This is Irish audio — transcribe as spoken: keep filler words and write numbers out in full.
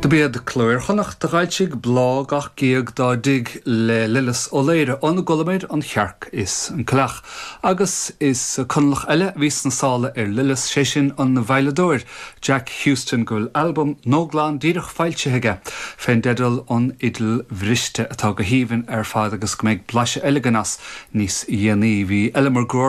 Do b'iad Cló Iar-Chonnacht a d'fhoilsigh Bláth gach géag dá dtig le Lillis Ó Laoire óna gcualamar an chearc is an coileach. Agus is Conallach eile a bhí sna sála ar Lillis sé sin an veidhleadóir Jack Houston go bhfuil albam nua glan díreach foilsithe aige fén dteideal an Fhidil Bhriste atá go haoibhinn ar fad agus go mbeidh blaiseadh eile againn as níos déanaí bhí Ella Mar